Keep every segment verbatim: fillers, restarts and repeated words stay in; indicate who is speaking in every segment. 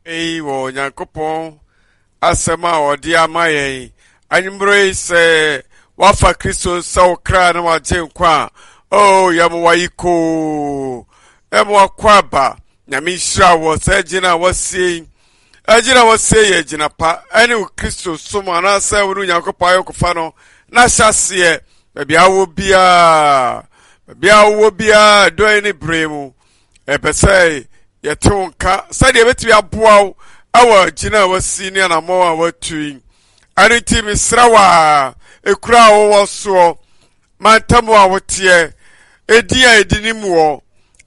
Speaker 1: Eyi wɔ Onyankopɔn asɛm a ɔde ama yɛn anwummere yi sɛ wafa Kristo sɛ wo kra na wagye nkwa a, oh, yɛma wayi koo, yɛma wakɔ aba. Nyame nhyira wɔ sɛ gyina a wasie yi. Agyina a wasie yɛ gyina pa ɛne wo Kristo som anaasɛ wo ne Onyankopɔn ayɔnkofa no na hyɛ aseɛ baabi a wowɔ biara, baabi a wowɔ biara, dɔn ne bere mu. Ɛpɛ sɛ yɛte wo nka sɛdeɛ ɛbɛtumi aboa wo ɛwɔ gyina a wasi ne anammɔn a watu yi. Ɛno nti mesrɛ wo a ekura a wowɔ soɔ, mantam a woteɛ, edin a ɛdi nim wɔ,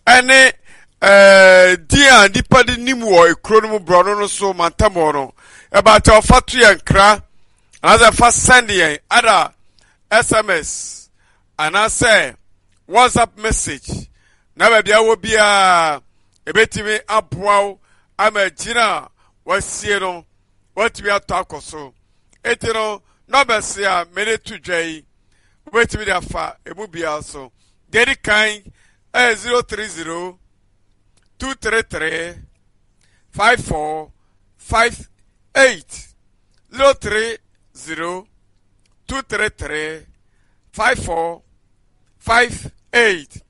Speaker 1: ɛne ɛɛ din a nipa de nim wɔ ekuro no mu, borɔno no so mantam hɔ no, ɛbaata ɔfa to yɛn nkra anaasɛ fa send yɛn ada S M S anaasɛ WhatsApp message na baabi a wɔ biara ebetumi aboa wo ama gyina a wasie no watumi atɔ akɔ so. Eti no numbers a mede to dwa yi, wobɛtumi de afa emu biara so. Deɛ di kan ɛyɛ zero three zero two three three five four five eight, zero three zero two three three five four five eight.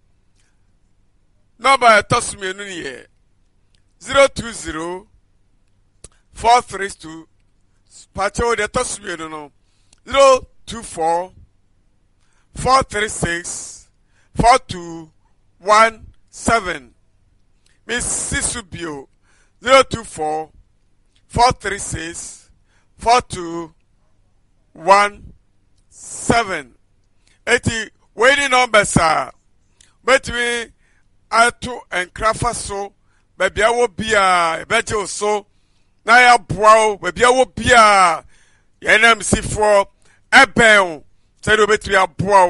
Speaker 1: Nɔmba a ɛtɔ so mmienu no yɛ zero two zero four three two, pakyɛw, deɛ ɛtɔ so mmienu no zero two four four three six four two one seven. Mesi so bio, zero two four four three six four two one seven. Eti wei ni numbers a bɛtumi ato nkrafa so. Baabi a wɔ biara yɛbɛgye wo so na yɛaboa wo. Baabi a wɔ biara yɛn namsifoɔ ɛbɛn wo sɛdeɛ wobɛtumi aboa wo.